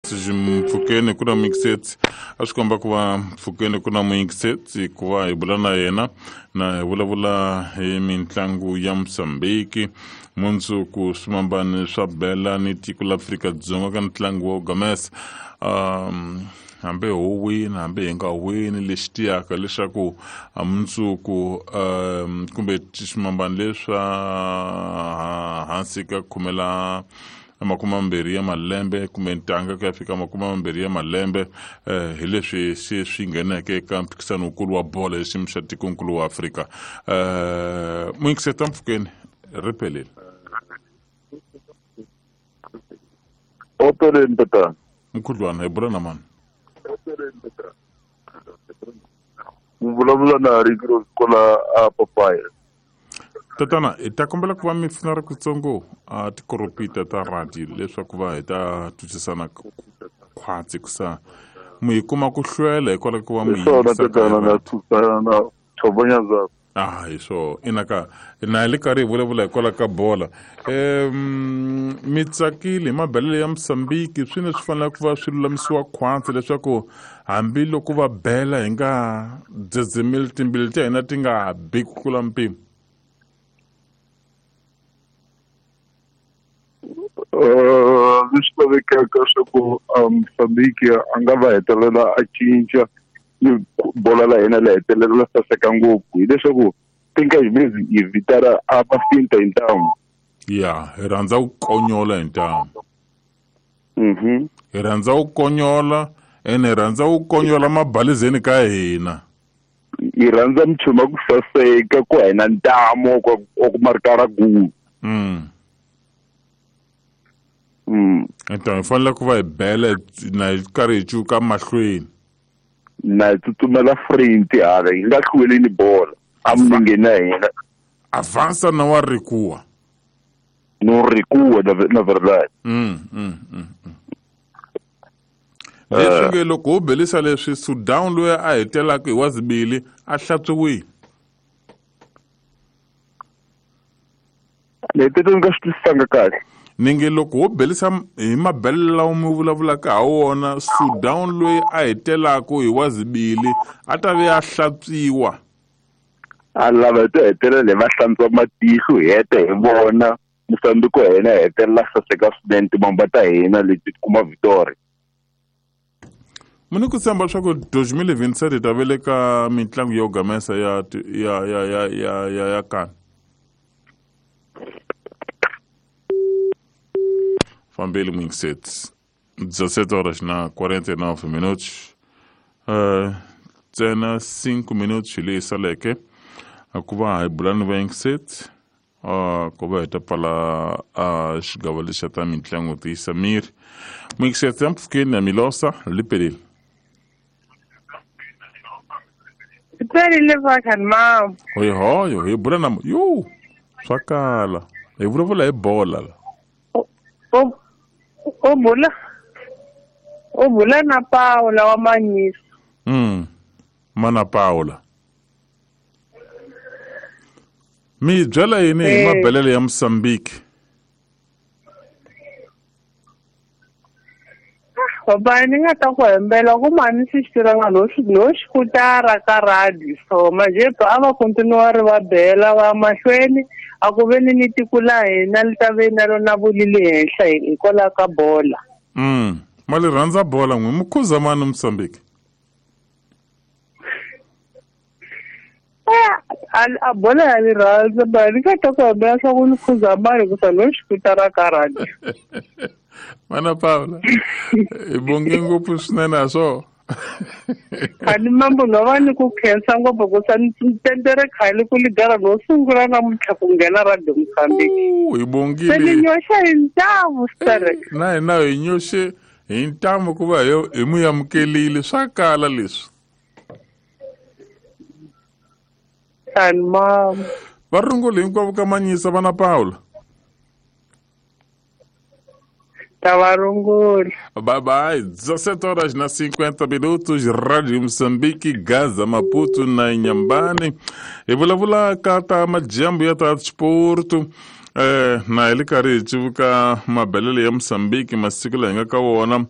Mpfhukeni ku na mixet a swi komba ku va mpfhukeni ku na mixet ku va hi bula na yena na hi vulavula hi mitlangu ya Mozambique mundzuku swimambani swa bela ni tiko la Afrika-Dzonga ka ntlangu wa Gamesa. Hambi ho wina hambi hi nga wini, lexi tiyaka leswaku mundzuku kumbe swimambani leswa hansi ka khume la 20 ya malembe kumbe ntanga ku ya fika 20 ya malembe, hi leswi se swi ngheneke eka mphikisano wukulu wa bolo hi xiyimo xa tikonkulu wa Afrika. Muyingiseta mpfhukeni ri pelile. Opeleni tatana. Mkhudlwana hi bula na mani? Ku vulavula na Rikiro kwala a Papaya. Tatana, hi ta kombela ku va mi pfuna ri kutsongo a tikoropita ta radio leswaku va hi ta twisisana khwatsi ku sa mu hi kuma ku hlwela hikwalaho ku va mu Hi swona yingisa ka tatana, na radio. tshusana na Thobonyaza. Ah, hi swo ina ka na hi le karhi hi vulavula hikwalaho ka bola. Mi tsakile hi mabelelo ya Mozambique, swi ne swi fanele ku va swi lulamisiwa khwatsi leswaku hambiloko va bela hi nga dzedzemeli, timbilu ta hina ti nga bi ku tlula mpimo. Leswi lavekaka swa ku Mozambique a nga va hetelela a cinca ni bola la hina la hetelela la saseka ngopfu, hileswaku tinkahi hi vitana a va finta hi ntamu. Ya, hi rhandza ku konyola hi ntamu. Hi rhandza ku konyola ene hi rhandza ku konyola mabalizeni ka hina. Hi rhandza minchumu ya ku saseka ku hina ntamu wa ku marikara gulu. Enta hi fanele ku va hi bela na hi karhi hi cuka mahlweni. Na hi tsutsumela front hala, hi nga hlweleni bola a milengeni ya hina. Avança na wa recua. No recua na verdade. Leswi nge loko ho belisa leswi Sudan loyi a hetelaka hi wa zibili a hlantswiwile. Ni titwa ni nga swi twisisanga kahle. Ni nge loko ho belisa hi mabelelo lawa mi vulavulaka ha wona, Sudan loyi a hetelaka hi wa zibili a ta ve a hlantswiwa. A lava hi to hetelela hi va hlantswa matihlo, hi heta hi vona Mozambique wa hina hetelela saseka swinene, timamba ta hina leti kuma victory. Muni ku tshemba leswaku 2027 hi ta ve le ka mitlangu yo gamesa ya ya ya ya ya ya ya kani. Fambeli Mixet. 17 horas na 49 minutos. Ntsena 5 minutos hi leyi saleke ku va hi bula ni va Mixet. Ku va hi ta pfala xigava lexi xa ta mitlangu tiyisa miri. Mixet ya mpfhukeni ya Milosa li pelile. Pelile vakhani mama. Hoyo hoyo hi bula na yo swa kala. Hi vulavula hi bola la. O bula na Paula wa Manyisa. Mana Paula. Mi byela yini hi mabelelo ya Mozambique? Baba, ni nga ta ku hembela ku mani swi xi tirhanga no no xikutara ka radio. So manje a va continue ri va bela va mahlweni, a ku ve ni ni tiko la hina li ta ve na rona vulili henhla hikwalaho ka bola. Ma li rhandza bola n'wi mukhuza mani Mozambique? A bola ya ni rhandza, ba ni nga ta ku hembela swa ku ni khuza mani ku sa no xikutara ka radio. Mana Paula, hi bonge ngopfu swinene a swo. Khani mambo no va ni ku khensa ngopfu ku sa ni tendere khale ku ligara no sungula namuntlha ku nghena radio Mozambique. Hi bongile. Se ni nyoxa hi ntamu, Sterek. Na hina hi nyoxe hi ntamu ku va hi mu amukelile, swa kala leswi. Khani mambo. Va rungule hinkwavo ka Manyisa vana Paula. Tavarungula. Bye bye. 17 horas na 50 minutos, Rádio Moçambique, Gaza, Maputo na Inhambane. Hi vulavula ka ta majambu ya ta sport. Na hi le karhi hi civuka mabelelo ya Mozambique masiku laha hi nga ka wona.